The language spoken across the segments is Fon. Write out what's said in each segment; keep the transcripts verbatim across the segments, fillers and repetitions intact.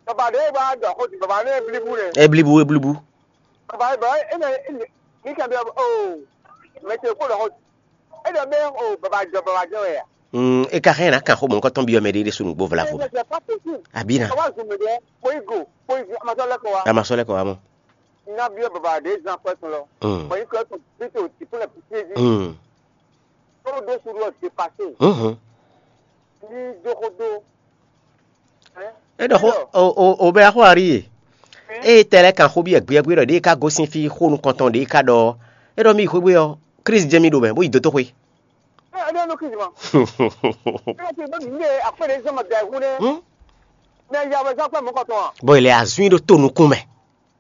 Baba ɖe ba ɖɔ xó ti baba ne blibu ne. Eblibu, eblibu. Baba ba e ne mi kan bi o. Mɛ te ko ɖɔ xó. E ɖɔ be o baba jɔ baba jɔ ya. Mm, e ka hɛn na kan xó mɔ nukɔn tɔn bi ɔmɛ ɖe ɖe sunu gbo vlavo. E ne c'est pas possible. Abina. Awa zu me de. Ko igo, ko igo amasɔ lɛ ko wa. Amasɔ lɛ ko wa mɔ. Na bi baba ɖe zan kwɛ tun lɔ. Mm. Ko igo to bi to ti ko le piti ji. Mm. Ko do suru o dépassé. Mhm. Ni do ko do. E ɖɔ xó o o o bɛ xó ari e. Eye tɛ lɛ́ kan xó byɔ́ gbéyɛ́gbé ɖɔ ɖěe ka gosín fí xó nukɔntɔn ɖěe ka ɖɔ ɔ́, é ɖɔ mì yi xwé ɔ́, Klísu jɛ mì ɖo mɛ, bó yi dó tó xwé. Ɛ ɛ nɔ Klísu ma. Ɛ ti bɛ mi ne akpɛ de zɔn ma da hu ne. Hmm? Ne ya wɛ zɔn akpɛ mɔ kɔtɔn a. Bɔ ilẹ̀ azún yìí ɖó tó nukún mɛ.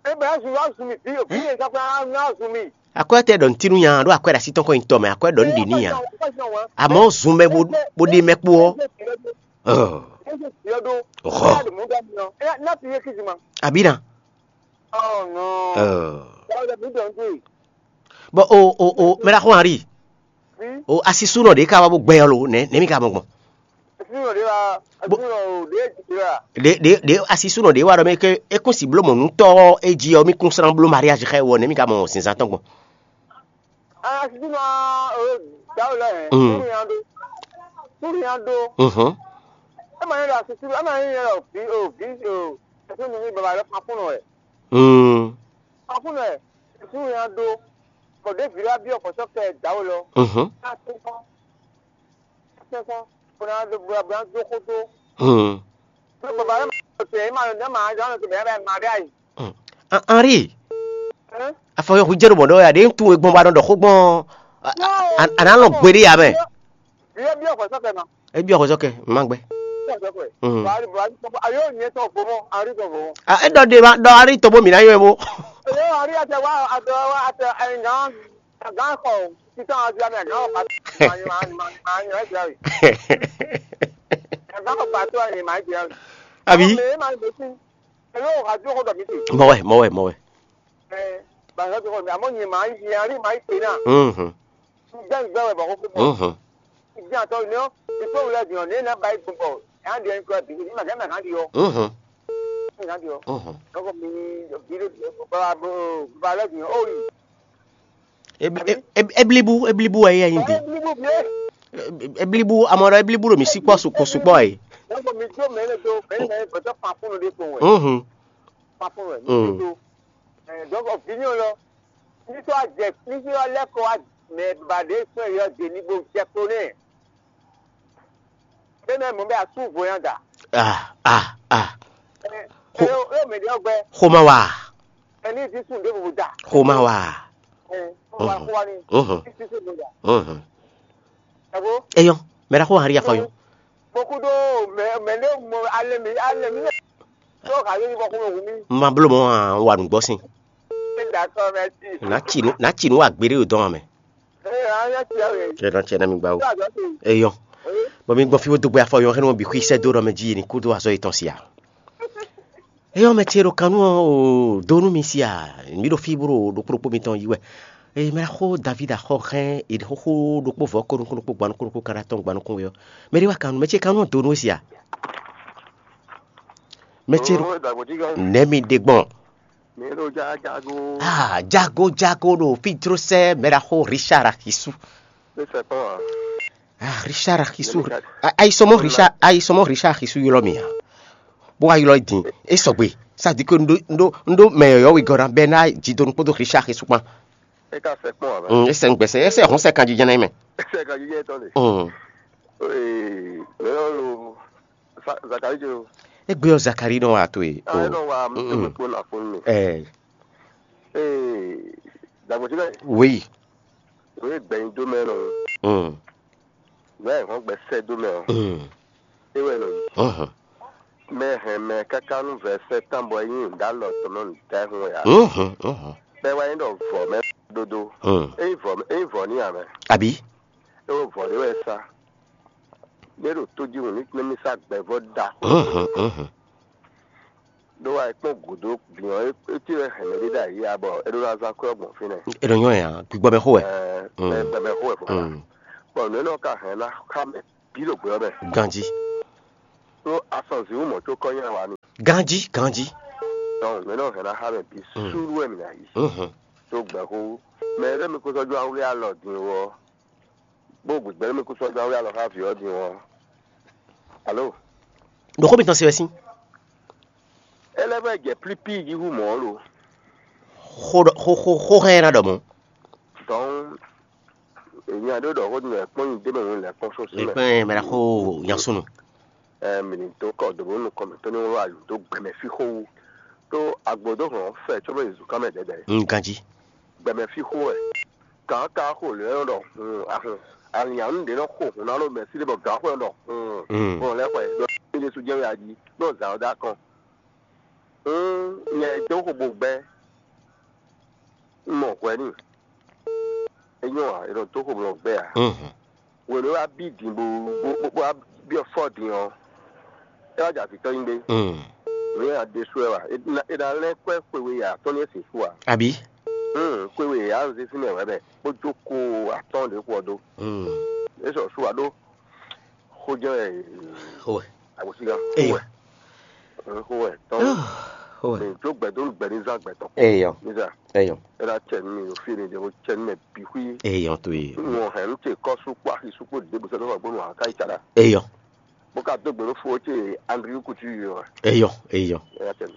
E bɛ azun azun mi bi o bi ne zɔn akpɛ azun azun mi. Akwɛ tɛ ɖɔ ntinu nya ɖo akwɛ ɖe asi tɔn kɔ nyi tɔ mɛ, akwɛ ɖɔ nɖi ni nya. Amɔ zun mɛ bo bo ɖe mɛ kpo ɔ. Ɔ. Ɔ. Abina. Ɔ. Bɔ o o o mɛ ɖaxó Henri. O asisunɔ ɖe ka wá bó gbɛ ɔ́ lo nɛ nɛ mi ka mɔ gbɔn. Ɖe ɖe ɖe asisunɔ ɖe wá ɖɔ mɛ ke é kún si bló mɔ nǔtɔ́ ɔ́ é jí ɔ́ mí kún slán bló mariage xá ɛ wɔ nɛ mi ka mɔ zǐnzán tɔn gbɔn. Asisúnɔ ɔ dǎwe lɔ hɛn. Mm. Súnnu nya ɖó. Súnnu nya ɖó. Mhm. Ema nyɛ ɖo asisúnɔ ema nyɛ nyɛ ɖo vi o vi o. Ɛsɛ mi baba lɛ kpakpɔnɔ wɛ. Mm. Kpakpɔnɔ wɛ. Súnnu nya ɖó. Bɔ ɖe vi ɖe wa biɔ kɔsɔ kɛ dǎwe lɔ. Mhm. Asisúnɔ. Asisúnɔ. Bɔna do bɔna do xo do. Mm. Baba lɛ ma tɛ ema ma ma ma ma ɖe ayi. Henri, afɔ yɔ hu jɛ ɖo mɔ̌ ɖɔ ya ɖe ń tunwun e gbɔn ba nɔ ɖɔ xó gbɔn. A nǎ lɔn gbeɖé ya mɛ. Biɔ biɔ xɔ sɔkɛ ma. E biɔ xɔ sɔkɛ ma gbɛ. Biɔ sɔkɛ. Mhm. Bari bari ayo nyɛ tɔ gbɔmɔ Henri tɔ gbɔmɔ. A e ɖɔ ɖe ma ɖɔ Henri tɔ bó mi ná yɔ e bó. Eyo Henri atɛ wa atɛ wa atɛ ɛngan gan xɔ sisan azi amɛ gan xɔ pati ma ma ma ma nyɔ ɛsɛ ayi. Gan xɔ pati wa ma ɛsɛ ayi. Abi. Mɛ ma mɛ si. Alo, radio xɔ dɔ mi te. Mɔwɛ, mɔwɛ, mɔwɛ. Ɛ, ba radio xɔ mi, amɔ nyi ma yi, nyi ari ma yi te na. Mhm. Gbɛ gbɛ wɛ bɔ ko ko. Mhm. Ibi atɔ ni o, ipo wulɛ di o, ne na ba yi gbɔ. Ya di en ko bi, ni ma ga na ga di o. Mhm. Ga di o. Mhm. Ko mi bi de ba ba ba le di o. Eblibu, eblibu wɛ yɛ nyi di. Eblibu amɔ ɖɔ eblibu ɖo mi sí kpɔ sukpɔ sukpɔ yi. Dɔnku mi do mɛ ne do mɛ ne mɛ ne gbɛtɔ fan funu de kpɔn wɛ. Mhm. Fan funu wɛ. Mm. Mi do. Ɛ dɔnku vini o lɔ. Nítorí àjẹ nítorí ọlẹ́kọ̀ọ́ mɛ bàdé sún ẹ̀yọ́ dè ní gbogbo jẹ kó nɛ. Bẹ́ẹ̀ mọ̀ bẹ́ẹ̀ asúnvo yẹn dà. Ah, ah, ah. Ẹ ẹ yóò mẹ̀dẹ́ ọgbẹ́. Xoma wa. Ẹ ní ìdí sùn dé gbogbo dà. Xoma wa. Ẹ xoma wa ni. Mhm. Ìdí sùn dé gbogbo dà. Mhm. Ẹ wo. Eyɔn, mɛ ɖaxó Henri afɔ yɔn. Kpɔkúɖó mɛ mɛ ɖé mɔ alɛ mi alɛ mi. Tó ka yé ní bɔ kó mɛ wù mí. Ma bló mɔ wa nǔgbɔ sin. D'accord, merci. Nà tsi nú nà tsi nú wa gbeɖé ɖo dɔn mɛ. Ẹ ẹ ẹ ti ẹ. Ẹ nà tsi ẹ nà mi gba o. Eyɔn. Bɔ mi gbɔ fi wo dogbe afɔ yɔn xɛ nɔ bi xwi sɛ do ɖɔ mɛ dzi ni kúdó azɔ yetɔn sia. Eyɔn mɛ ce ɖo kanú ɔ o do nú mi sia. Mi ɖo fi bro ɖo kplokpó mitɔn yi wɛ. Eye mɛ xó David axɔ xɛn eɖi xóxó ɖokpó vɔ ko nukún ɖokpó gba nukún ɖokpó kaɖa tɔn gba nukún wɛ ɔ. Mɛ ɖé wa kanú mɛ ce kanú ɔ do nú sia. Mɛ ce ɖo nɛ mi ɖe gbɔn. Mi ɖo jago. Ah, jago jago ɖo fi dro sɛ mɛ ɖaxó Richard Axisu. Ne sɛ kpɔn a. Ah, Richard Axisu. Ayi sɔmɔ Richard ayi sɔmɔ Richard Axisu ylɔ mi a. Bó wa ylɔ din e sɔgbe. Ça dit que ndo ndo ndo mɛ yɔyɔ wi gɔna bɛ na ji do nukpó do Richard Axisu kpan. E ka sɛ kpɔn a. Mm, e sɛ ngbɛsɛ e sɛ hɔn sɛ kan jijɛ na mɛ. E sɛ kan jijɛ tɔn de. Mm. Ee, mɛ yɔ lo Zakari jo. Egbe ɔ Zakari nɔ wa to ye. Ah, e nɔ wa mi to kpo na fun mi. Ɛɛ. Ee, dagbo ti bɛ. Wei. Wei gbɛyin do mɛ nɔ. Mm. Mɛ hɔn gbɛ sɛ do mɛ o. Mm. E wɛ nɔ yi. Mhm. Mɛ hɛn mɛ kaka nu vɛ sɛ tan bɔ yin da lɔ tɔmɔ nu da hun ya. Mhm. Mhm. Bɛ wa yin dɔ vɔ mɛ dodo. Mm. E vɔ e vɔ ni ya mɛ. Abi. E wo vɔ de wɛ sa. Mɛ ɖo to ji hun ni mi sa gbɛvɔ da. Mhm. Mhm. Ɖó wa kpɔn gǔdo gbìn ɔ́, é cí wɛ hɛ̌nmɛ ɖé ɖo ayǐ ǎ bɔ é ɖó ná zán kwɛ́ ɔ́ gbɔn fínɛ́. É nɔ nyɔ́ ɛ ǎ, gbigbɔ mɛ xó wɛ. Ɛɛ, Mm. Mɛ gbɛmɛ xó wɛ fɔ. Mm. Bɔ nǔ énɛ́ ɔ́ ka hɛn ná xá mɛ bǐ ɖo gbɛ ɔ́ mɛ. Ganjí. Tó asɔn zǐwú mɔ̌ có kɔ́ nyi awǎ n'i. Ganjí, ganjí. Donc mɛ nɔ hɛn ná xá mɛ bǐ. Mm. Súɖú wɛ mǐ ná yi. Mhm. Tó gbɛxó. Mɛ ɖé mi kó sɔ́ jó awlí alɔ din ɔ́, bó gbǐgbɛ́ mi kó sɔ́ jó awlí alɔ xá vǐ ɔ́ din ɔ́. Alo? Ɖo xó mitɔn se wɛ sín. É lɛ́ vɛ jɛ plípíi jí hú mɔ̌ lo. Xó ɖɔ- xó xó xó hɛn ná ɖɔ mɔ̌. Donc èmi àdó ɖɔ xó din lɛ kpɔ́n nyi dé mɛ nǔ lɛ kpɔ́n sɔ́ sí mɛ. Ekpɛn mɛ ɖa xó yansunu. Ɛ mi ní dó kɔ dǒ bó nukɔn mǐtɔn ní wló ayǐ dó gbɛmɛ fí xó wú. Tó agbǒdó hɔn fɛ có bɔ Jezu ká mɛ dɛdɛ. Un ganjí. Gbɛmɛ fí xó wɛ. Kǎn ka xo lě nɔ ɖɔ hun ahun. Alǐnyanu ɖě nɔ xo hun ná ɖo mɛ̌si ɖé bɔ gǎn xo nɔ ɖɔ hun. Mm. Hun lɛ́ xwɛ ɖɔ Jezu jɛ wɛ ají ɖo zǎn ɔ́ dó akɔn. Hun nyɛ dó xo bo gbɛ́. Un mɔ hwɛ n'i. É nyɔ́ ǎ, è nɔ dó xomlɔ gbɛ ǎ. Mhm. Hwenu e wá bí din bó bó bó wá byɔ́ fɔ́ din ɔ́, é wá jɛ avǐ tɔn nyi gbé. Mm. Nǔ e a ɖésú wɛ wa? È nǎ è nǎ lɛ́ kwɛ́ xwe we atɔ́ɔ́n e sixú ǎ. Abǐ? Mm, xwe we a un zé sín mɛ wɛ mɛ, bó jó ko atɔ́ɔ́n ɖě xu ɔ́ dó. Mm. É sɔ sú wa ɖó xó jɛ́n wɛ. Xó wɛ. Agosígan. Eyɔ. Xó wɛ. Mm, xó wɛ. Tɔn. Xó wɛ. Mɛ jó gbɛdó gbɛ ní zán gbɛtɔ́ kpó. Eyɔ. Ní zá. Eyɔ. É ná cɛ nú mi ɖo fí e mi ɖe bó cɛ nú mɛ bǐ xwí. Eyɔ to ye. Nú ɔ́ hɛn nú ce kɔ́ sú kpó axi sú kpó ɖěbǔ sɔ́ dó xɔ gbónú ǎ ká yi tsa ɖa. Eyɔ. Bó ka dó gbe nú fó ce Andrew Couture ɔ́. Eyɔ, eyɔ. É ná cɛ nú.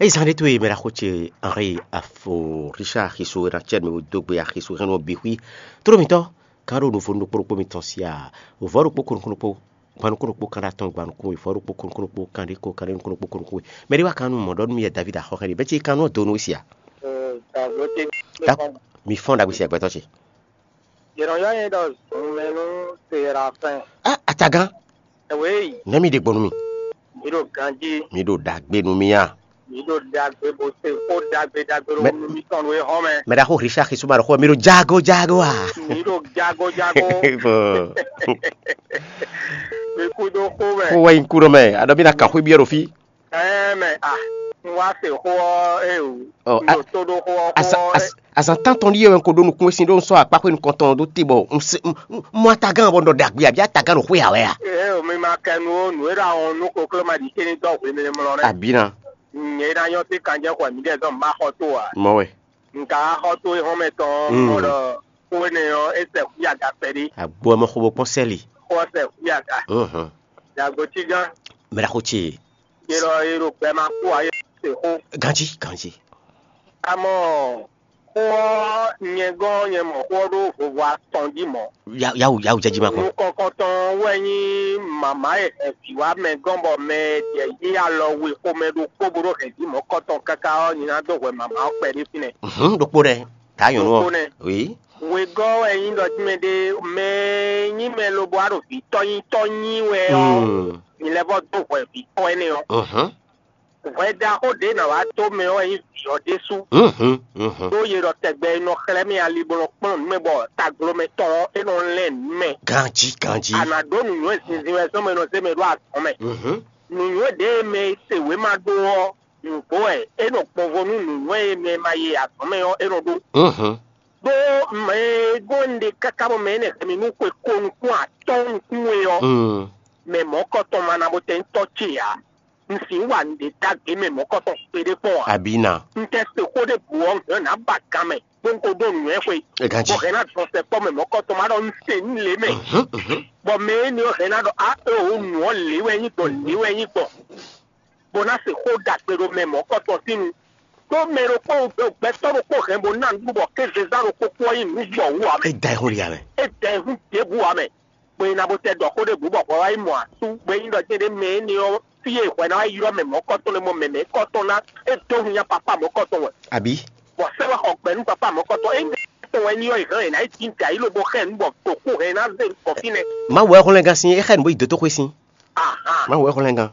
Eyi zan ɖé to e mɛ ɖaxó ce Henri afo Richard axiso e ná cɛ nú mi bó dó gbe axiso hɛn nú bǐ xwí. Tló mitɔ́, kan ɖo nuvo nukpó ɖokpó mitɔn sia, vɔ̌ ɖokpó kó nukún ɖokpó, gban nukún ɖokpó kan ɖo atɔn, gban nukún we, vɔ̌ ɖokpó kó nukún ɖokpó kan ɖé kó, kan ɖé nukún ɖokpó kó nukún we. Mɛ ɖé wá kan nú mɔ̌ ɖɔ nú mì yɛ David axɔxɛ ɖé, bɛ́ ce kan nú ɔ́ do nú we sia. Ee, David ce. Da- Mi fɔ́n ɖagbe sia gbɛtɔ́ ce. Yě nɔ ylɔ́ nyɛ ɖɔ zunmɛ nú Serafɛn. Ah, atagán. Ɛwéyi. Nɛ́ mi ɖe gbɔn nú mi. Mi ɖo ganjí. Mi ɖo ɖagbe nú mi a. Mi ɖo ɖagbe bó se xó ɖagbe ɖagbe ɖo Mɛ- nú mi tɔn nú e hɔn mɛ. Mɛ ɖaxó Richard Xisuma ɖo xó mi ɖo jago jago a. Mi ɖo jago jago. Bɔ Mi kú dó xó mɛ. Xó wɛ nyi kú ɖɔ mɛ, aɖɔ mi na kan xwé biɔ ɖo fí. Ɛɛ mɛ a, un wá se xó ɔ́, ee o. Ɔ, Un a- ɖo tó ɖó xó ɔ́ xó Azan ɔ́. az- azan tántɔn ɖíe wɛ un ko ɖó nukún e sin ɖó un sɔ́ akpáxwé nukɔntɔn ɔ́ ɖó te bɔ un se un un- un mɔ atagán bɔ un ɖɔ ɖagbe abí atagán ɖo xwé ǎ wɛ a. Ee o, mi ma kɛ nu ó, nǔ e ɖo ahɔn nú kokló ma ɖi céní dɔ́ hwemɛ mlɔ nɛ́. Abǐ ná. Nyɛ e ná nyɔ́ sí kanjɛ́ xɔ mǐɖɛɛ zɔn un ma xɔ tó ǎ. Mɔ wɛ. Un ka wá xɔ tó e hɔn mɛ tɔn Mm. Mɔ ɖɔ xó énɛ́ ɔ́, é sɛ xwí aga kpɛɖé. Agbo ɔ́ mɔ xo bó kpɔ́n sɛ́li. Xó ɔ́ sɛ xwí aga. Mhm. Yàgò cí gán. Mɛ ɖaxó ce. Yé lɔ yé ɖo gbɛ ma kú ǎ, yé se xó. Ganjí, ganjí. Amɔ xó ɔ́, nyɛ gɔ́n nyɛ mɔ xó ɔ́ ɖó vovo atɔn jí mɔ̌. Yawu yawu jɛjí ma kpɔn. Nukɔnkɔntɔn wɛ nyí mama e hɛn vǐ wá mɛ gɔ́n bɔ mɛ e ɖɛ yí alɔ we xomɛ ɖokpó bó ɖó hɛn jí mɔ̌kɔtɔn káká ɔ́, nyi ná dó hwɛ mama ɔ́ kpɛɖé fínɛ́. Mhm, ɖokpó ɖɛ. Ta nyɔ̌nu ɔ́. Ɖokpó nɛ́. Oui. Wegɔ́ wɛ nyí ɖɔ jí mɛ ɖé mɛ e nyí mɛ lobo wá ɖo vǐ tɔ́ nyí tɔ́ nyí wɛ ɔ́, Mm. Mi lɛ́ vɔ́ dó hwɛ vǐ tɔ́ énɛ́ ɔ́. Mhm. Hwɛ ɖaxó ɖě nǎ wá dó mɛ ɔ́ wɛ nyí vǐ ɔ́ ɖésú. Mhm, mhm. Ɖó yě ɖɔ tɛgbɛ e nɔ xlɛ́ mì ali bó nɔ kplɔ́n nǔ mɛ bɔ taglomɛ tɔn ɔ́, é nɔ lɛ́n nǔ mɛ. Ganjí, ganjí. A nǎ ɖó nǔnywɛ́ zinzin wɛ zɔ́n mɛ e nɔ zé mɛ ɖó azɔ̌ mɛ. Mhm. Nǔnywɛ́ ɖě e mɛ e se wěma ɖó ɔ́, nǔgbó wɛ é nɔ gbɔnvo nú nǔnywɛ́ e mɛ e ma ye azɔ̌ mɛ ɔ́, é nɔ ɖó. Mhm. Ɖó mɛ e gɔ́n un ɖe káká bɔ mɛ énɛ́ hɛn mì nú xwe ko nukún atɔ́ɔ́n nukún we ɔ́, Mm. Mɛ mɔ̌kɔtɔn ma ná bó tɛ́ nyí tɔ́ ce ǎ. Un sixú wa nǔɖé ɖagbe mɛ mɔ̌kɔtɔn kpeɖé kpɔ́n ǎ. Abǐ ná. Un tɛ se xó ɖěbǔ ɔ́, un hɛn nǎ ba gan mɛ, bó un ko ɖó nǔnywɛ́ xwe. É ganjí. Bɔ hɛn ná dɔn sɛkpɔ́ mɛ mɔ̌kɔtɔn ma ɖɔ un se nú lě mɛ. Mhm, mhm. Bɔ mɛ énɛ́ ɔ́ hɛn ná ɖɔ á é o nǔ ɔ́ lě wɛ nyí gbɔn, lě wɛ nyí gbɔn. Bó ná se xó ɖagbe ɖo mɛ mɔ̌kɔtɔn sín nu. Ɖó mɛ ɖokpó gbɛtɔ́ ɖokpó hɛn bó ná nǔɖuɖu bɔ kézezán ɖokpó kú ɔ́ nyí nǔ gbɔ wú ǎ mɛ. É da ɛ xó li ǎ mɛ. É da ɛ hún ɖěbǔ ǎ mɛ. Bɔ è nǎ bó tɛ ɖɔ xó ɖěbǔ bɔ hwɛ wá yi mɔ asú, bɔ é nyí ɖɔ jɛ́n ɖé mɛ énɛ́ ɔ́, fí e hwɛ ná wá ylɔ́ mɛ mɔ̌kɔtɔn lɛ́ɛ mɔ mɛ mɛ̌kɔtɔn ná, é dó hun nyá papá mɔ̌kɔtɔn wɛ. Abǐ. Bɔ sɛ́ wá xɔ gbɛ nú papá mɔ̌kɔtɔn, é nyí tɔn wɛ nyí ɔ́, è hɛn è nǎ yi jǐ ayǐ lobo xɛ nǔ bɔ ɖo kú hɛn ná zé nukɔn fínɛ́. Mawu wɛ xlɛ́n gán sín, é xɛ nǔ bó yi dǒtoxwé sín. Ahan. Mawu wɛ xlɛ́n gán.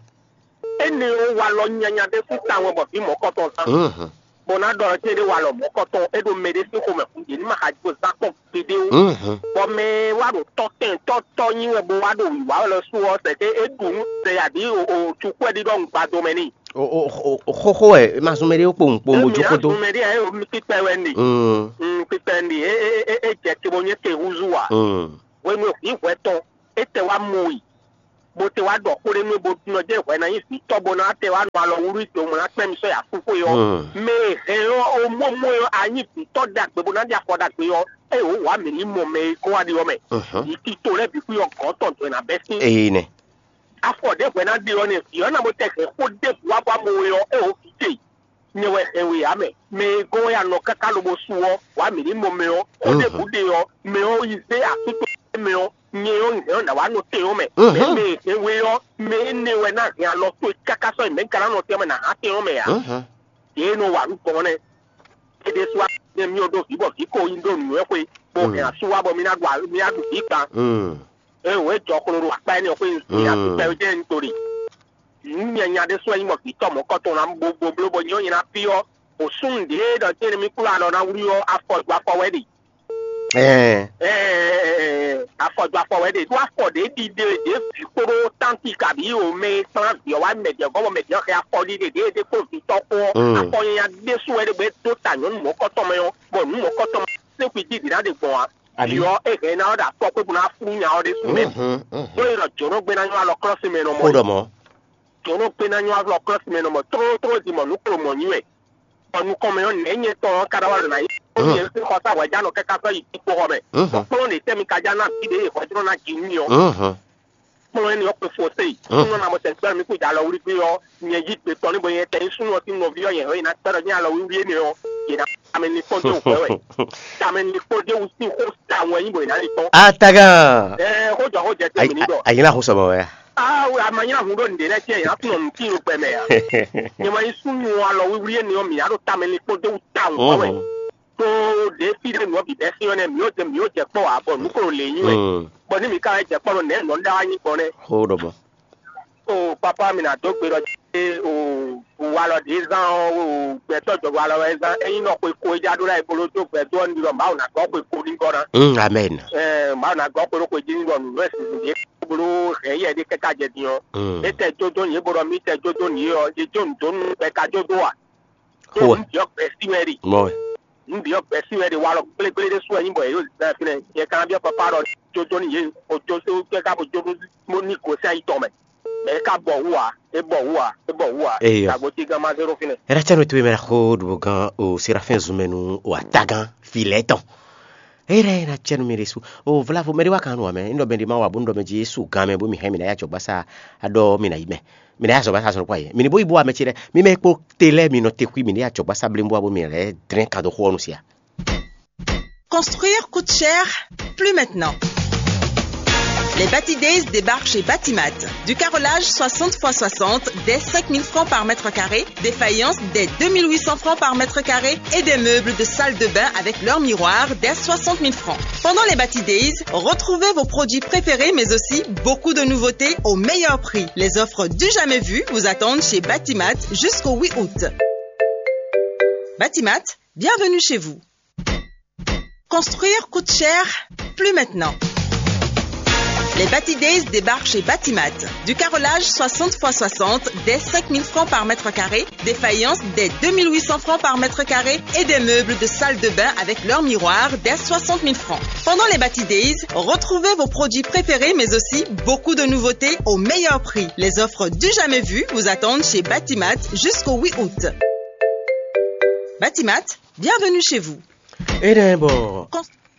Énɛ́ ɔ́ wa lɔ nyanya ɖé sín tawun wɛ bɔ vǐ mɔ̌kɔtɔn zán. Mhm. Bɔ ná ɖɔ ɔ́, céɖé wa lɔ mɔ̌kɔtɔn, é ɖo mɛ ɖé sín xomɛ kún ɖě ní ma xa jó zán kpɔ́n gbeɖé ó. Mhm. Bɔ mɛ e wá ɖo tɔ́ tɛn tɔ́ tɔ́ nyí wɛ bó wá ɖo wǐwá wɛ lɔ sú ɔ́, sɛkɛ é ɖu nú sɛ abǐ o o cukú wɛ ɖiɖɔ un gbado mɛ n'i. O o o o xóxó wɛ ma zɔn mɛ ɖé kpo un kpo mo jó kódó. Mɛ ɖé ɛ o mi kpíkpɛ wɛ n'i. Mm. Un kpíkpɛ n'i é é é é jɛ te bó nyɛ te húzú a. Mm. Hwenu e hwǐ hwɛ tɔn é tɛ wá mɔ i. bó te wá ɖɔ xó ɖé nú we bó nɔ jɛ hwɛ ná nyí vǐ tɔ́ bó ná te wá nɔ alɔ wúlú do mɔ ná kpɛ́n mi sɔ́ yi asúxwé ɔ́. Mɛ e hɛn ɔ́, ó mɔ mɔ ɔ́, a nyí vǐ tɔ́ ɖagbe bó ná ɖi afɔ ɖagbe ɔ́, ée wǒ wǎ mǐ ní mɔ mɛ e gɔ́n wá ɖi ɔ́ mɛ. Yi tito lɛ́ɛ bǐ xwí ɔ́ gɔ̌n tɔn dɔ̌ è nǎ bɛ́ sín. Ee nɛ. Afɔ ɖěbǔ e ná ɖe ɔ́ nɛ́, vǐ ɔ́ ná bó tɛ hɛn xó ɖěbǔ wá bó amɔ we ɔ́, é wǒ vǐ ce. Nyɛ wɛ hɛn we ǎ mɛ. Mɛ e gɔ́n wɛ a nɔ káká lobo su ɔ́, wǎ mǐ ní mɔ mɛ ɔ́, xó ɖěbǔ ɖe ɔ́, mɛ ɔ́ yi zé asú tɔn mɛ ɔ́, nyɛ ɔ́, nyɛ ɔ́, nǎ wá nɔ tɛn ɔ́ mɛ. Mɛ mɛ e hɛn we ɔ́, mɛ énɛ́ wɛ ná hɛn alɔ towe káká sɔ́ yi mɛ̌ ka ná nɔ tɛn ɔ́ mɛ, nǎ hán tɛn ɔ́ mɛ ǎ. Yě e nɔ wa nǔ gbɔn ɔ́ nɛ́. É ɖésú ǎ, nɛ́ mì ɔ́ ɖó vǐ bɔ vǐ ko nyi ɖó nǔnywɛ́ xwe, bó hɛn asú wá bɔ mì ná ɖu mì ná ɖu vǐ gban. Ée wǒ é jɔ xlo ɖo akpá énɛ́ ɔ́ xwé nyi asú kpɛɖé jɛ́n un to ɖe. Nǔ nyanya ɖé sɔ́ nyí mɔ vǐ tɔn mɔ̌kɔtɔn ná bó bló bɔ nyɛ ɔ́ nyɛ ná fyɔ́. Bǒ súnnu ɖě ɖɔ jɛ́n mì kplɔ́n alɔ ná wlí ɔ́, afɔ ju afɔ wɛ ɖe. Ɛɛ, Ɛɛ, afɔ ju afɔ wɛ ɖe ɖó afɔ ɖě ɖiɖe ɖě vǐ kpóɖó tánti kabǐ o mɛ e kplán vǐ ɔ́ wá mɛ ɖě gɔ́ bɔ mɛ ɖě ɔ́ xɛ afɔ ɖiɖe ɖě ɖě kpó vǐ tɔn kpó ɔ́, afɔ nyanya ɖésú wɛ ɖé bɔ é dó ta nyɔ̌nu mɔ̌kɔtɔn mɛ ɔ́, bɔ nǔ mɔ̌kɔtɔn mɛ sɛ́n xwí jí ɖě ná ɖe gbɔn ǎ. Vǐ ɔ́, é hɛn ná ɔ́ ɖo afɔ kpé bó ná flú nya ɔ́ ɖésú mɛ. Ɖó é ɖɔ jǒnɔ gbé ná nyɔ́ alɔ klɔ́ sin mɛ nɔ mɔ. Xó ɖɔ mɔ̌. Jǒnɔ gbé ná nyɔ́ alɔ klɔ́ sin mɛ nɔ mɔ tlóló tlóló din mɔ nǔ klo mɔ̌ nyi wɛ. Bɔ nukɔn mɛ ɔ́, nɛ̌ nyɛ tɔn ɔ́ ka ɖɔ wá ɖo ná nyí? Ó nyɛ sín xɔsá hwɛjánɔ kɛ́ ká sɔ́ yi kpíkpó xɔ mɛ. Bɔ kplɔ́n ɖě tɛ́ mi ka já ná vǐ ɖě e hwɛjlɔ́ ná ji nú mì ɔ́. Kplɔ́n énɛ́ ɔ́ kpe fo se yi. Súnnu ɔ́ ná mɔ tɛn gbɛ́ mi kú jɛ alɔ wlí gbé ɔ́, nyɛ yí gbe tɔn ní bo nyɛ tɛn nyí súnnu ɔ́ sín nɔví ɔ́, nyɛ hɛn yi ná kpɛ́ ɖɔ nyɛ alɔ wíwlí énɛ́ ɔ́, yě ná tamɛ ní kpɔ́n dó wǔ hwɛ́ wɛ. Tamɛ ní kpɔ́n dó wú sín xó tawun wɛ nyí bɔ yě ná lí kpɔ́n. Atagan. Ɛɛ, xó jɔ xó jɛ tɛn mi ní ɖɔ. Ayila xó sɔmɔ wɛ. Aa, a ma nylá hun ɖó nǔɖé lɛ́ɛ cɛ yě ná tunɔ nǔ tín ɖo gbɛ mɛ ǎ. Nyɛ ma nyí súnnu alɔ wíwlí énɛ́ ɔ́, mǐ ná ɖo tamɛ ní kpɔ́n dó wú tawun kpɔ́n wɛ. Tó ɖě fí ɖé nǔ ɔ́ bǐ bɛ́ sín ɔ́ nɛ́, mǐ ó jɛ mǐ ó jɛ kpɔ́ ǎ, bɔ nǔ ko lě nyí wɛ. Bɔ ní mǐ ka wɛ jɛ kpɔ́ ɖo nɛ̌ nɔ ɖá wá nyí gbɔn nɛ́. Xó ɖɔ mɔ. O papa, mi ná dó gbe ɖɔ cé o walɔ ɖě zán ɔ́, o gbɛtɔ́ jɔ walɔ wɛ zán. Ényí nɔ xwe ko e já ɖó ná e bolo dó gbɛ dó ɔ́, ní ɖɔ Mawu ná gɔ́ xwe ko ní gɔ́ ná. Mm, amen. Ɛɛ, Mawu ná gɔ́ xwe ɖó xwe jí ní ɖɔ nǔ e sixú ɖě bolo hɛn yɛ ɖé kɛ́ ká jɛ din ɔ́. Mm. É tɛ jó dó nyi é bó ɖɔ mí tɛ jó dó nyi é ɔ́, é jó nǔ dó nú bɛka jó dó a? Xó wɛ. Nǔ byɔ́ gbɛ̌ sí wɛ ɖi. Mɔ wɛ. Nǔ byɔ́ gbɛ̌ sí wɛ ɖi. Walɔ gblégblé ɖé sú wɛ nyí bɔ yě ɖo zan fínɛ́. Nyɛ ka ná byɔ́ papa ɖɔ jó dó nyi yě, o jó sí kɛ́ ká bo jó dó mɔ ní gosín ayi tɔn mɛ. Mɛ é ka bɔ wú ǎ, é bɔ wú ǎ, é bɔ wú ǎ. Eyo. Tagbo cí gán má zé ɖó fínɛ́. Era cɛnu towe mɛ xo ɖubo gan o Serafin zunmɛnu o atagan fi lɛ tɔn. Era ena cɛnu mi ɖesu. O vlavo mɛ ɖe wa kan nu amɛ. Ndo mɛ ɖe ma wa bo ndo mɛ ji Yesu gan mɛ bo mi hɛn mi na ya jɔgbasa. Aɖɔ mi na yi mɛ. Mi na ya zɔgbasa zɔn kwa yi. Mi ni bo yi bo amɛ ci lɛ. Mi mɛ kpo te lɛ mi nɔ te xwi mi na ya jɔgbasa blim bo abo mi lɛ drɛn kan do xo ɔnu sia. Construire coûte cher, plus maintenant. Les Bati Days débarquent chez Batimat. Du carrelage soixante fois soixante dès cinq mille francs par mètre carré, des faïences dès deux mille huit cents francs par mètre carré et des meubles de salle de bain avec leur miroir dès soixante mille francs. Pendant les Bati Days, retrouvez vos produits préférés mais aussi beaucoup de nouveautés au meilleur prix. Les offres du jamais vu vous attendent chez Batimat jusqu'au huit août. Batimat, bienvenue chez vous. Construire coûte cher, plus maintenant. Les Bati Days débarquent chez Batimat. Du carrelage soixante fois soixante dès cinq mille francs par mètre carré, des faïences dès deux mille huit cents francs par mètre carré et des meubles de salle de bain avec leur miroir dès soixante mille francs. Pendant les Bati Days, retrouvez vos produits préférés mais aussi beaucoup de nouveautés au meilleur prix. Les offres du jamais vu vous attendent chez Batimat jusqu'au huit août. Batimat, bienvenue chez vous. Énɛ́ bɔ Kɔn-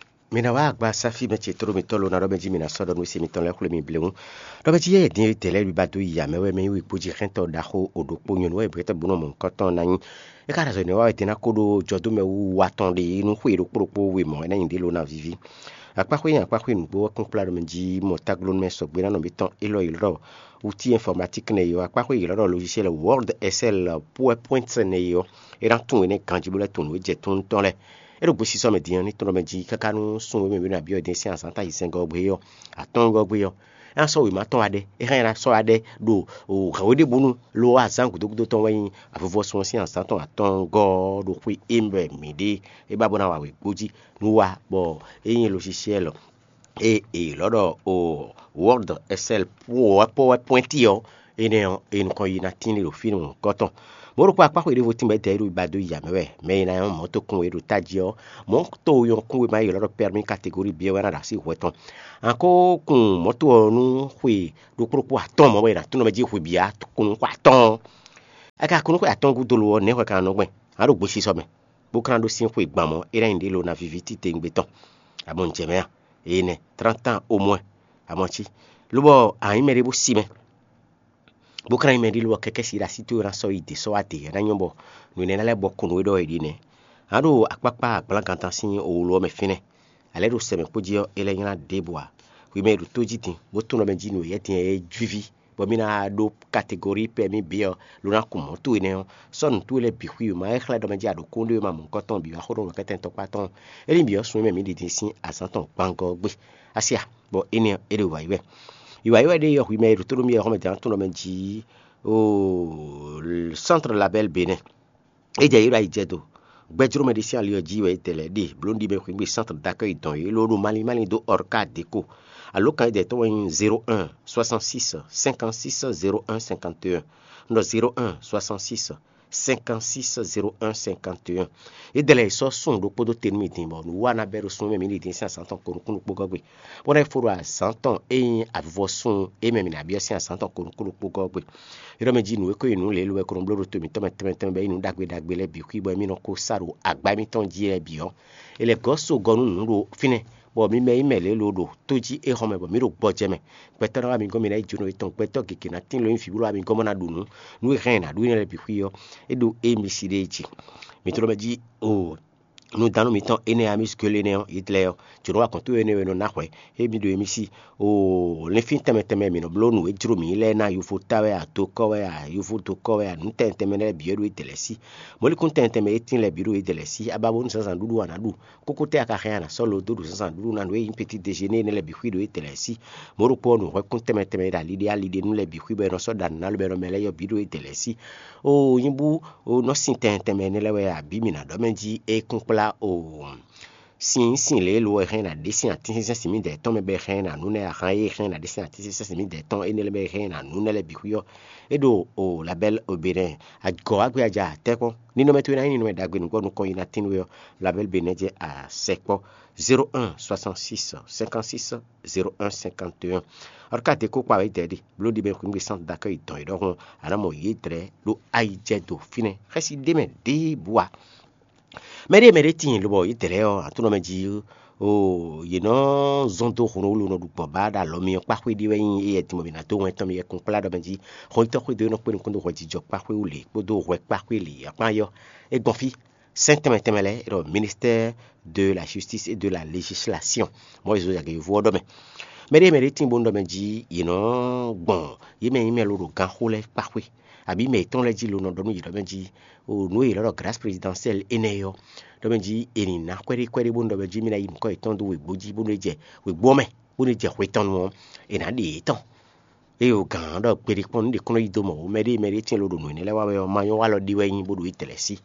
mi ná wá agba sáfí mɛ ce tló mitɔn lo ná ɖɔ mɛ jí mi ná sɔ́ ɖɔ nú sí mitɔn lɛ́ɛ xwlé mi bléwún. Ɖɔ mɛ jí yɛ dín dɛ̌ lɛ́ɛ ba dó yi amɛ wɛ mɛ yí wǐ kpó jí xɛ́ntɔ ɖaxó o ɖokpó nyɔ̌nu wɛ brɛ́tɛ́ bó nɔ mɔ nukɔn tɔn ná nyí. É ka ɖo azɔ̌ nɛ́ wa wɛ din ná kó ɖó jɔdómɛ wú wa tɔn ɖé nú xwé ɖokpó ɖokpó we mɔ̌ é ná nyi ɖě lo ná víví. Akpáxwé nyi akpáxwé nǔgbó wɛ kún kplá ɖɔ mɛ jí mɔ táglónúmɛ sɔgbe ná nɔ mǐtɔn élɔ́ yi lɔ́ outil informatique nɛ yi ɔ́, akpáxwé yi lɔ́ ɖɔ logiciel Word, Excel, PowerPoint nɛ yi ɔ́, é ná tunwun énɛ́ ganjí bó lɛ́ tunwun nǔ e jɛ tún tɔn lɛ́ɛ. É ɖo gbesisɔ mɛ din ɔ́, ní tɔn ɖɔ mɛ jí káká nú sún wěmɛ wěmɛ abiyɔ dín sín azǎn ta yi sɛngɔ́ ɔ́ gbe ɔ́, atɔ́ɔ́ngɔ́ gbe ɔ́, é ná sɔ́ wěma tɔn wá ɖe. É hɛn ná sɔ́ wá ɖe ɖo hɛ̌wé ɖěbǔnu lo azǎn gǔdo gúdo tɔn wɛ nyí avuvɔsun ɔ́ sín azǎn tɔn atɔ́ɔ́ngɔ́ ɖo xwé émɛ mǐ ɖe é ba bó ná wa wěgbó jí nú wa, bɔ é nyí logiciel e è lɔ́ ɖɔ o Word, Excel, PowerPoint ɔ́, Énɛ́ ɔ́, è nukɔn yi ná tín ɖo fínɛ́ mɔ̌hunkɔtɔn. Mɔ̌ ɖokpó akpáxɔ e ɖěvo tín bɔ é dɛ é ɖo gbadó ya mɛ wɛ. Mɛ e ná nyɔ́ mɔ̌ tokun e ɖo tají ɔ́, mɔ̌ to e nyɔ́ kún wěma élɔ́ ɖɔ pɛ́rmí kategóri B ɔ́ wɛ ná ɖo así hwɛ tɔn. A ko kun mɔ̌ to ɔ́ nú xwe ɖokpó ɖokpó atɔ́ɔ́n mɔ̌ wɛ è nǎ tún nɔ mɛ jí xwe bǐ a kun nú xwe atɔ́ɔ́n. A ka kun nú xwe atɔ́ɔ́n gúdo lo ɔ́, nɛ̌ hwɛ ka nɔ gbɛn? A ɖo gbesisɔ mɛ, bó ka ná ɖó sín xwe gban mɔ̌, é ná nyí ɖě lo ná víví titewungbe tɔn. Amɔ̌ un jɛ mɛ a? Énɛ́, trántan omwɛ, amɔ̌ cí. Lobɔ a nyǐ mɛɖé bó si mɛ, bó ka ná nyí mɛɖé lobɔ kɛkɛ́ si ɖo así towe ná sɔ́ yi dě sɔ́ wá dě, é ná nyɔ́ bɔ nǔ énɛ́ ná lɛ́ bɔ ko nǔ e ɖɔ è ɖe nɛ́. A ɖo akpákpá agblágan tɔn sín owlo ɔ́ mɛ fínɛ́, alɛ̌ ɖo sɛ mɛ kpó jí ɔ́, é lɛ́ nylá ɖěbǔ ǎ. Hwi mɛ e ɖo tó jí din, bó tunwun ɖɔ mɛ jí nǔ e yɛ́ din ɔ́ é jwíví, bɔ mì ná ɖó kategóri pɛ mì bǐ ɔ́, ló ná kun mɔ̌ towe nɛ́ ɔ́, sɔ́ nǔ towe lɛ́ɛ bǐ xwí wěma e xlɛ́ ɖɔ mɛ jí a ɖo kúnɖéwéma mɔ̌hunkɔtɔn bǐ wá xó ɖó nǔkɛntɛn tɔkpá tɔn. É nyí bǐ ɔ́ sun e mɛ mǐ ɖi din sín azǎn tɔn gbangɔ ɔ́ gbe. Asi a, bɔ énɛ́ ɔ́, é ɖo wǎ yi wɛ. Yi wǎ yi wɛ ɖé ɔ́, hwi mɛ e ɖo tó ɖó mì ɔ́, xɔ́mɛ din ɔ́ tunwun ɖɔ mɛ jí oo, Centre Label Bénin. É jɛ yě ɖo ayijɛdo. Gbɛjlómɛ ɖé sín ali ɔ́ jí wɛ é tɛ lɛ́ɛ ɖe, blǒ ɖi mɛ xwǐngbe Centre d'accueil dɔn yě, ló ɖo malín malín dó Orca Déco. Alǒkan e dɛ tɔn wɛ nyí zéro un soixante-six cinquante-six zéro un cinquante et un. Un ɖɔ zéro un soixante-six cinquante-six zéro un cinquante et un. Yě dɛ lɛ́ɛ sɔ́ sun ɖokpó dó te nú mì din, bɔ nǔ wa ná bɛ́ ɖo sun e mɛ mǐ ɖi din sín azǎn tɔn ko nukúnnú kpó gɔ́ gbe. Bó ná yi fó ɖo azǎn tɔn e nyí avivɔsun e mɛ mǐ ná byɔ́ sín azǎn tɔn ko nukúnnú kpó gɔ́ gbe. É ɖɔ mɛ jí nǔ e ko nyí nǔ lě e lo wɛ ko nɔ bló ɖo to mǐtɔn mɛ tɛnmɛ tɛnmɛ bɔ é nyí nǔ ɖagbe ɖagbe lɛ́ɛ bǐ xwí bɔ émí nɔ ko sá ɖo agbá émítɔn jí lɛ́ɛ bǐ ɔ́, è lɛ̌ gɔ́ so gɔ́ nú nǔ ɖo fínɛ́, bɔ mi mɛ e nyí mɛ lě e lo ɖo tó jí é hɔn mɛ bɔ mǐ ɖo gbɔjɛ́ mɛ. Gbɛtɔ́ ná wá mi gɔ́n mi ná yi jǒnɔ yětɔn, gbɛtɔ́ gěgé ná tín lo nyi vǐ bó ɖo wá mi gɔ́n bó ná ɖu nǔ. Nǔ e hɛn è nǎ ɖu énɛ́ lɛ́ɛ bǐ xwí ɔ́, é ɖo émí sí ɖée jí. Mi tló mɛ jí o nǔdánú mitɔn énɛ́ Amis Gueule énɛ́ ɔ́, Hitler ɔ́, jǒnɔ wa kɔn tó énɛ́ wɛ nɔ ná hwɛ. Émí ɖo émí sí o linfín tɛnmɛ tɛnmɛ mǐ nɔ bló nǔ e jló mǐ lɛ́ɛ ná, yovo tá wɛ a, dokɔ́ wɛ a, yovo dokɔ́ wɛ a, nǔ tɛnmɛ tɛnmɛ lɛ́ɛ bǐ wɛ ɖo Hitler sí. Mɔ̌likún tɛnmɛ tɛnmɛ e tín lɛ́ɛ bǐ ɖo Hitler sí. A ba bónú zǎnzǎn ɖuɖu a nǎ ɖu. Kókó tɛ́ a ka hɛn a nǎ sɔ́ lo dó ɖo zǎnzǎn ɖuɖu ná nǔ e nyí petit déjeuner énɛ́ lɛ́ɛ bǐ xwí ɖo Hitler sí. Mɔ̌ ɖokpó ɔ́, nǔhwɛ́kún tɛnmɛ tɛnmɛ e ɖo ali ɖé ali ɖé nú lɛ́ɛ bǐ xwí bɔ è nɔ sɔ́ ɖa nǔ ná lobɔ è nɔ mɛ lɛ́ɛ yɔ bǐ ɖo Hitler sí. Oo, nyí bú o nɔ sin tɛnmɛ tɛnmɛ énɛ́ lɛ́ɛ wɛ a, bǐ mǐ ná ɖɔ mɛ jí é kún kplá o sin sin lě e lo wɛ hɛn ná ɖe sín atínsínsɛ́n sin mǐdɛɛ tɔn mɛ bɔ è hɛn ná nǔ nɛ́ ahan e hɛn ná ɖe sín atínsínsɛ́n sin mǐdɛɛ tɔn énɛ́ lɛ́ɛ bɔ è hɛn ná nǔ nɛ́ lɛ́ɛ bǐ xwí ɔ́, é ɖo o labɛ́l oběnɛ́ agɔ̌ wá gbé aja tɛ́ kpɔ́n. Ninɔmɛ towe ná nyí ninɔmɛ ɖagbe nǔgbɔ nukɔn yi ná tín we ɔ́, labɛ́l benɛ́ jɛ a sɛkpɔ́ zéro un soixante-six cinquante-six zéro un cinquante et un. Ɔ́ ka dé kó kpa wě dɛ̌ ɖi bló ɖi mɛ xwǐngbe sán dakɛ yi dɔn yi ɖɔhun a nǎ mɔ yě dlɛ̌ ɖó ayijɛ do fínɛ́ xɛsi ɖé mɛ ɖěbǔ ǎ. Mɛ ɖé mɛ ɖé tíin lobɔ yě dlɛ̌ ɔ́, atónɔ mɛ jí o yě nɔ zɔn dó hwlowúlo nɔ ɖu gbɔn bá ɖo alɔ mi ɔ́ kpá xwé ɖé wɛ nyí éyɛ́ din bɔ mǐ ná dó wɛn tɔn mi yɛ kún kplá ɖɔ mɛ jí xɔnyitɔ́ xwé dó é nɔ kpé nukún dó hwɛjijɔ kpá xwé wú lě kpódó hwɛ kpá xwé lě akpá yɔ é gbɔn fí. Sɛn tɛnmɛ tɛnmɛ lɛ́ɛ é ɖɔ ministère de la justice et de la législation. Mɔ̌ e zo yagě yovo ɔ́ ɖɔ mɛ. Mɛ ɖé mɛ ɖé tíin bónú ɖɔ mɛ jí yě nɔ gbɔn yě mɛ nyí mɛ lo ɖo gánxó lɛ́ɛ kpá xwé, abǐ mɛ yětɔn lɛ́ɛ jí lo nɔ ɖɔ nú yě ɖɔ mɛ jí o nǔ e yě lɔ ɖɔ grâce présidentielle énɛ́ ɔ́, ɖɔ mɛ jí è nǐ ná kwɛ́ɖí kwɛ́ɖí bónú ɖɔ mɛ jí mì ná yi nǔkɔ yětɔn dó wěgbó jí bónú é jɛ wěgbó ɔ́ mɛ, bónú é jɛ hwe tɔn nu ɔ́, è nǎ ɖe yě tɔn. Ée o gǎn ɔ́ ɖɔ gbeɖé kpɔ́n nǔ ɖě kún nɔ yí dó mɔ̌ ó, mɛ ɖé mɛ ɖé tíin lo ɖo nǔ énɛ́ lɛ́ɛ wa wɛ ɔ́, ma nyɔ́ wa lɔ ɖi wɛ nyí bó ɖo yi tɛlɛ sí.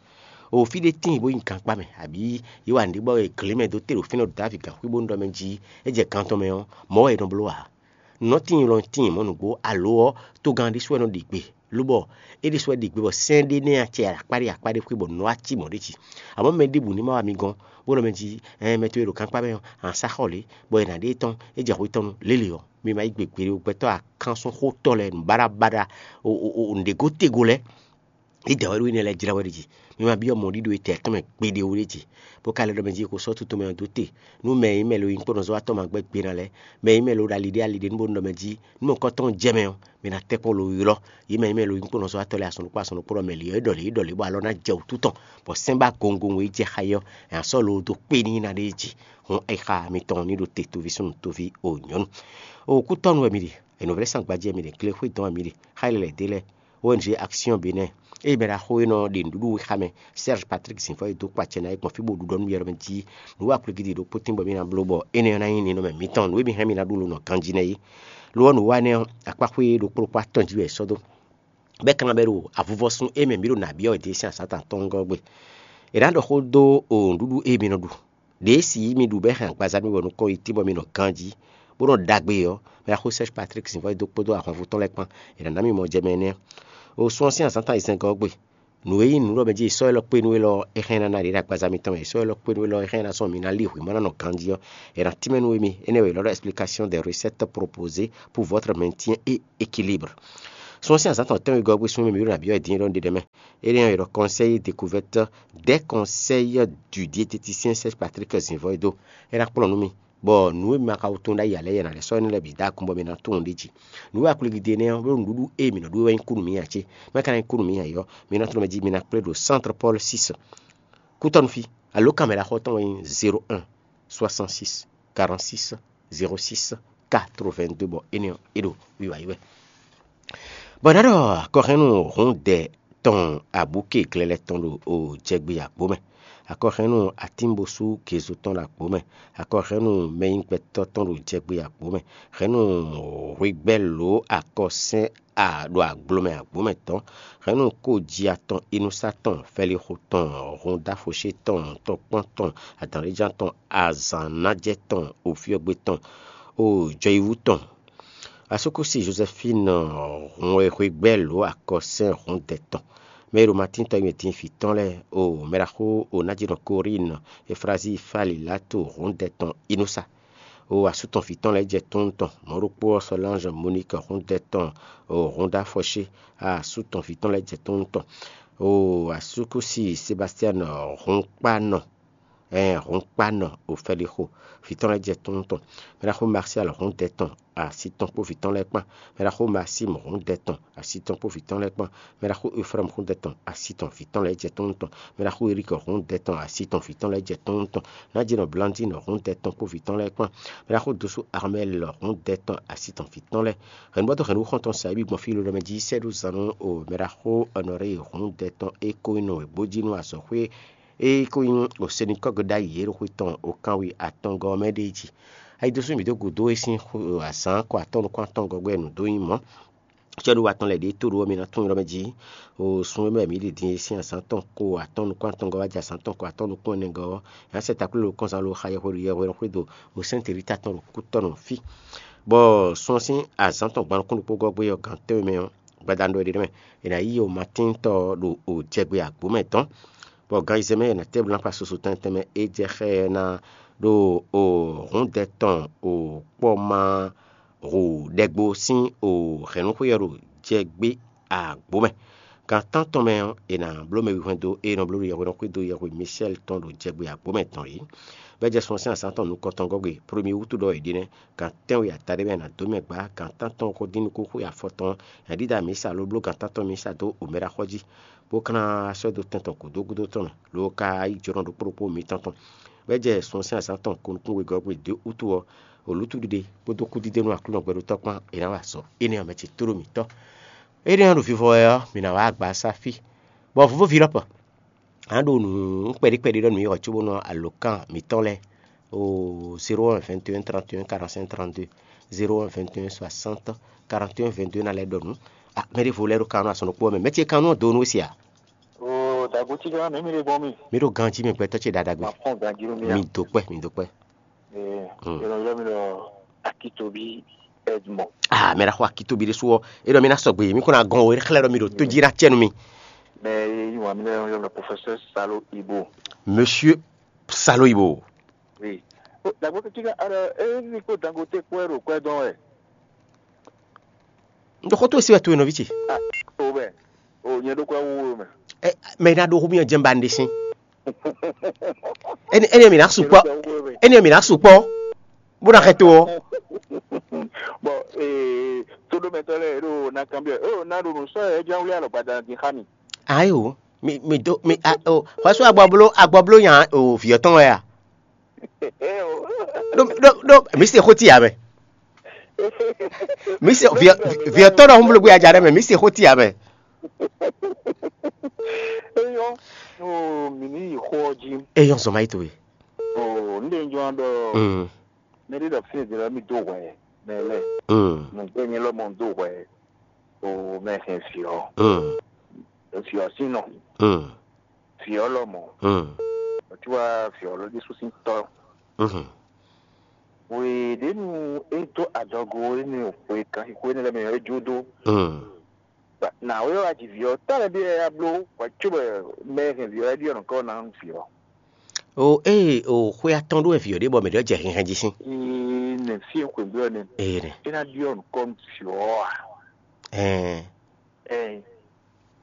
O fí ɖé tíin bó nyí gankpá mɛ, abǐ yí wa nǔɖé bɔ è glě mɛ dó te ɖo fínɛ́ ɖo Davi gǎnxwí bónú ɖɔ mɛ jí é jɛ gan tɔn mɛ ɔ́, mɔ̌ wɛ è nɔ bló ǎ. Nǔ nɔ tíin lɔ tíin mɔ̌ nǔgbó, alo ɔ́, togán ɖésú wɛ nɔ ɖi gbe, lobɔ é ɖésú wɛ ɖi gbe bɔ sɛ́n ɖé nɛ́ acɛ akpá ɖé akpá ɖé xwé bɔ nǔ wá cí mɔ̌ ɖé jí. Amɔ̌ mɛ ɖěbǔ ní ma wá mi gɔ́n, bó nɔ mɛ jí ɛɛ mɛ towe ɖo gankpá mɛ ɔ́, a sá xɔ lě, bɔ è nǎ ɖe tɔn, é jɛ hwe tɔn nu lélě ɔ́, mi ma yí gbe gbeɖé ó, gbɛtɔ́ akánsun xótɔ́ lɛ́ɛ nǔbaɖabaɖa nǔɖégó tego lɛ́ɛ. Yě dɛ wɛ ɖó énɛ́ lɛ́ɛ jlá wɛ ɖi jí. Mi ma byɔ́ mɔ̌ ɖíɖó etɛ́ tɔn mɛ gbeɖé ó ɖé jí, bó ka lɛ́ ɖɔ mɛ jí è ko sɔ́ tutun mɛ ɔ́ dó te. Nú mɛ e nyí mɛ lo nyí kpɔ́nɔzɔ́watɔ́ ma gbɛ́ gbe ná lɛ́ɛ, mɛ e nyí mɛ lo ɖo ali ɖé ali ɖé nú bó nɔ mɛ jí, nú mɔ̌kɔ́ tɔn jɛ mɛ ɔ́, mi ná tɛ́ kpɔ́n lo ylɔ́. Yě mɛ e nyí mɛ lo nyí kpɔ́nɔzɔ́watɔ́ lɛ́ɛ asɔn ɖokpó asɔn ɖokpó ɖɔ mɛ lě ɔ́ é ɖɔ lě é ɖɔ lě bɔ alɔ ná jɛ wǔtu tɔn, bɔ sɛ́n ba gongongwe yi jɛ xá yi ɔ́, è nǎ sɔ́ lo dó kpé n'i ná ɖ'é jí. Hǔn ayixa mitɔn ní ɖo te toví súnnu toví o nyɔ̌nu. O kútɔ́nu wɛ mi ɖe, è nǔvlɛ́ sán gbajɛ mi ɖe, glexwé dɔn wɛ mi ɖe, xá yi lɛ́ ɖe lɛ́ɛ. O N G Action Bénin, eye mɛ ɖaxó e nɔ ɖe nǔɖuɖu wɛ xá mɛ, Serge Patrick Zinfɔ e dó kpacɛ ná é gbɔn fí bó ɖu ɖɔ nú yɛ ɖɔ mɛ jí nǔ wa kplígídi ɖokpó tínbɔ mì ná bló bɔ énɛ́ ɔ́ ná nyí ninɔmɛ mǐtɔn, nǔ e mi hɛn mi ná ɖu lo nɔ ganjí nɛ́ é. Lo ɔ́, nǔ wa énɛ́ ɔ́, akpáxwé ɖokpó ɖokpó atɔn jí wɛ è sɔ́ dó. Bɔ é ka ná bɛ́ ɖo avuvɔ́sún e mɛ mǐ ɖo nǎ byɔ́ wɛ din sín azǎn tɔn atɔ́ɔ́ngɔ́ gbe. È nǎ ɖɔ xó dó o nǔɖuɖu e mi nɔ ɖu. Ɖě si mi ɖu bɔ é hɛn agbaza mi bɔ nukɔn yi tín bɔ mi nɔ ganjí, bó nɔ ɖagbe ɔ́, mɛ axó Serge Patrick Zǐnvɔ́ e dó kpódó ahwanvú tɔn lɛ́ɛ kpán, è nǎ ná mì mɔ jɛ mɛ énɛ́. O sun ɔ́ sín azǎn tɔn ayizɛ́n gɔ́ gbe. Nǔ e nyí nǔɖɔmɛ jí sɔ́ élɔ́ kpé nú élɔ́, é hɛn ná ná ɖě ɖo agbaza mitɔn mɛ. Sɔ́ élɔ́ kpé nú élɔ́, é hɛn ná sɔ́ mi ná lí hwǐ ma ná nɔ ganjí ɔ́, è nà tínmɛ nú émí. Énɛ́ wɛ è nɔ ɖɔ explication des recettes proposées pour votre maintien et équilibre. Sun ɔ́ sín azǎn tɔn tɛ́nwe gɔ́ gbe sun e mɛ mǐ ɖo nǎ byɔ́ wɛ din é ɖɔ nú ɖe ɖɛ̌ mɛ. Énɛ́ ɔ́, è ɖɔ conseil découverte des conseils du diététicien Serge Patrick Zǐnvɔ́ e dó. É ná kplɔ́n nú mì, bɔ nǔ e ma ka tunwun ɖ'ayǐ ǎ lɛ́ɛ, è nǎ lɛ́ sɔ́ énɛ́ lɛ́ɛ bǐ dó akun bɔ mi ná tunwun ɖ'é jí. Nǔ e a ko lí ɖe nɛ́ ɔ́, ɖó nǔɖuɖu e mǐ nɔ ɖu é wɛ nyí kú nú mǐ ǎ cé? Mɛ ka ná nyí kú nú mǐ ǎ é ɔ́, mi ná tlɔ́n mɛ jí mi ná kplé ɖo Centre Paul six. Kútɔ́nú fí, alǒkanmɛ ɖaxó tɔn wɛ nyí zéro un soixante six quarante six zéro six quatre-vingt-deux, bɔ énɛ́ ɔ́, é ɖo wiwa yi wɛ. Bɔ ná ɖɔ akɔhɛ́nnu hǔndɛ tɔn abǔké glɛlɛ tɔn ɖo jɛgbe agbǒ mɛ, akɔhɛ́nnu atínbosú gezo tɔn ɖo agbǒ mɛ, akɔhɛ́nnu mɛnyígbɛtɔ́ tɔn ɖo jɛgbe agbǒ mɛ, hɛ̌nnu hwegbɛ́ lǒ akɔsɛ́n a ɖo agblomɛ agbǒ mɛ tɔn, hɛ̌nnu kóji atɔn inúsá tɔn fɛlixo tɔn húndáfoṣé tɔn tɔkpɔ́n tɔn adǎnléján tɔn azǎnnájɛ tɔn ofyɔ́gbé tɔn o jɔyíwú tɔn. Asúkúsi Jozɛfín hun e hwegbɛ́ lǒ akɔsɛ́n hǔndɛ tɔn, mɛ e ɖo Matín tɔn e mɛ din vǐ tɔn lɛ́ɛ, o mɛɖaxó o nájínɔ Korín, Eflazíi Faliláto hǔndɛ tɔn Inúsa, o asú tɔn vǐ tɔn lɛ́ɛ jɛ tónú tɔn, mɔ̌ ɖokpó ɔ́ Sɔlánzɔ Moník hǔndɛ tɔn, o húndáfɔ́sé, asú tɔn vǐ tɔn lɛ́ɛ jɛ tónú tɔn, o asúkúsi Sebastian hǔnkpánɔ, ɛɛ hǔnkpánɔ Ofɛlixo vǐ tɔn lɛ́ɛ jɛ tónú tɔn. Mɛɖaxó Marsial hǔndɛ tɔn asi tɔn kpó vǐ tɔn lɛ́ɛ kpán. Mɛɖaxó Masim hǔndɛ tɔn asi tɔn kpó vǐ tɔn lɛ́ɛ kpán. Mɛɖaxó Efrɛ́mu hǔndɛ tɔn asi tɔn vǐ tɔn lɛ́ɛ jɛ tónú tɔn. Mɛɖaxó Erik hǔndɛ tɔn asi tɔn vǐ tɔn lɛ́ɛ jɛ tónú tɔn. Nájínɔ Blandín hǔndɛ tɔn kpó vǐ tɔn lɛ́ɛ kpán. Mɛɖaxó Dosú Armɛl hǔndɛ tɔn asi tɔn vǐ tɔn lɛ́ɛ. Hɛ̌nnubɔ́tɔ́ hɛ̌nnu xɔ́ntɔn sa é bǐ gbɔn fí lodɔmɛ jí sɛ́ ɖó zan nú o mɛɖaxó Ɔnɔrée hǔndɛ tɔn e ko nyí nɔ wěgbójínú azɔ̌xwé e ko nyí osenikɔ́gbe ɖ'ayǐ e ɖo xwe tɔn okanwe atɔngɔ́ ɔ́ mɛ ɖe é jí. Ayi dó sú mǐ dó gǔdo é sín azǎn kɔ atɔ́ nukún atɔngɔ́ gbɛ nǔ dó nyí mɔ̌. Cɛ́ɖuwa tɔn lɛ́ɛ ɖě tó ɖó ɔ́, mi ná tunwun ylɔ́ mɛ jí. O sun e mɛ mǐ ɖi din é sín azǎn tɔn ko atɔ́ nukún atɔngɔ́ wá jɛ azǎn tɔn ko atɔ́ nukún ɛnɛgɔ́ ɔ́, è nǎ sɛ takló ɖo kɔnzan lo xa yɛhweɖu yɛhweɖɔ xwédo o sɛ́n Telita tɔn ɖo kútɔ́nɔ fí. Bɔ sun ɔ́ sín azǎn tɔn gban nukún ɖokpó gɔ́ gbé ɔ́, gǎn tɛ́nwe mɛ ɔ́, gbadanu ɖɔ é ɖe mɛ, è nǎ yí o Matín tɔn ɖo o jɛgbe agbǒ mɛ dɔn, bɔ gan ayizɛ́n mɛ è nǎ tɛ́ bló ná kpa susu tɛnmɛ tɛnmɛ é jɛ xá ɛ ná ɖo o hǔndɛ tɔn o kpɔ́ ma hu ɖɛgbo sín o hɛ̌nnúxwé ɔ́ ɖo jɛgbé agbǒ mɛ. Gan tántɔn mɛ ɔ́, è nǎ bló mɛ wihwɛ́n dó e nɔ bló ɖo yɛhweɖɔ xwé dó yɛhwe Misɛ́li tɔn ɖo jɛgbé agbǒ mɛ dɔn é. Bɔ é jɛ sun ɔ́ sín azǎn tɔn nukɔntɔn gɔ́ gbe, Plomyúwútu ɖɔ è ɖe nɛ́, gan tɛ́nwe ata ɖé mɛ è nǎ dó mɛ gbǎ, gan tántɔn xo dín nukúnxwe afɔ tɔn, è nǎ ɖíɖá mǐsa ló bló gan tántɔn mísa dó omɛɖaxɔ́ jí, bó ka ná sɔ́ dó tɛn tɔn gǔdo gúdo tɔn mɛ, lo ka yí jǒnɔ ɖokpó ɖokpó mitɔn tɔn. Bɔ é jɛ sun ɔ́ sín azǎn tɔn ko nukún wegɔ́ gbe dó wútu ɔ́, o lǔtu ɖiɖe kpódó kúdídé nú Aklúnɔ gbɛɖotɔ́ kpán è nǎ wa azɔ̌ énɛ́ ɔ́ mɛ ce tlóló mǐtɔn. Énɛ́ ɔ́ ɖo vivɔ wɛ ɔ́, mǐ ná wá agba sá fí, bɔ vǒvóví lɔ́pɔ. A nǎ ɖo nǔ kpɛɖé kpɛɖé ɖɔ nǔ yi hɔ cóbónɔ alǒkan mǐtɔn lɛ́ɛ o zéro un vingt et un trente et un quarante cinq trente deux, zéro un vingt et un soixante quarante et un vingt deux ná lɛ́ ɖɔ nǔ. Ah, mɛ ɖěvo lɛ́ɛ ɖo kan nú azɔn ɖokpó ɔ́ mɛ. Mɛ ce kan nú ɔ́ do nú we se a? Oo, dagbo cí gán mǐ mi ɖe gbɔn mi. Mi ɖo ganjí mɛ gbɛtɔ́ ce ɖaɖa gbe. Ma fɔn ganjí nú mi a. Mi do kpɛ, mi do kpɛ. Ee, Hmm. Yɔlɔ yɔlɔ mi ɖɔ Akitobi Edmond. Ah, mɛ ɖaxɔ Akitobi ɖésú ɔ́, é ɖɔ mi ná sɔgbe, mi kó ná gɔn o, é xlɛ́ ɖɔ mi ɖo tó jí ná cɛ nú mi. Mɛ yi wà mí lɛ yɔ lɔ professeur Salo Ibo. Monsieur Salo Ibo. Oui. O dagbo kiki ka ara e ni ko Dangote kpɛ ɖo kpɛ dɔn wɛ. N ɖo xó tó e sí wɛ to e nɔví ce. Ah, o bɛ. O nyɛ ɖo kpɛ wo mɛ. Ɛ, mɛ ná ɖo xó mi jɛn ba n ɖe sín. Ɛni ɛni mi ná sukpɔ. Ɛni mi ná sukpɔ. Bó ná xɛ to ɔ. Bɔn ee, toɖomɛtɔ lɛ ɖo na kanbiɔ o na ɖo nǔ sɔ yɛ jɛn wlí alɔ gbada din xa mi. Ayi o, mi mi do mi a o xɔsɔ agbɔblo agbɔblo nya o viɔ tɔn wɛ a. Ɖo ɖo ɖo mi se xó ti ya mɛ. Mi se viɔ viɔ tɔn ɖɔ hun blo gbé aja ɖe mɛ, mi se xó ti ya mɛ. Eyɔ o mi ni yi xɔ ji. Eyɔ zɔn ma yi to ye. O n de jɔ dɔ. Mm. Mɛ ɖe ɖɔ fi ɖe mi do hwɛ mɛ lɛ. Mm. Nugbe mi lɔ mɔ do hwɛ. O mɛ hɛn fiɔ. Mm. Fiɔ sinɔ. Mm. Fiɔ lɔ mɔ. Mm. O ti wa fiɔ lɔ Jesu sin tɔ. Mm. Hweɖěnu é dó adɔgo énɛ́ xwe kanxixo énɛ́ lɛ́ɛ mɛ ɔ́, é jó dó. Mm. Nǎwe ɔ́ wá ji vǐ ɔ́, tɔ́ lɛ́ɛ bí wɛ é wá bló hwɛ cóbɔ mɛ e hɛn vǐ ɔ́ wɛ ɖyɔ́ nǔkɔ ná nú vǐ ɔ́. O ée o xwe atɔn ɖó wɛ vǐ ɔ́ ɖe bɔ mɛ ɖé ɔ́ jɛ hɛnhɛn jí sín. Ee, nɛ fí e xweyǐgbe ɔ́ nɛ́. Ee nɛ. É ná ɖyɔ́ nǔkɔ nú vǐ ɔ́ a? Ɛɛ. Ɛɛ,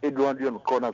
é ɖó ná ɖyɔ́ nǔkɔ ná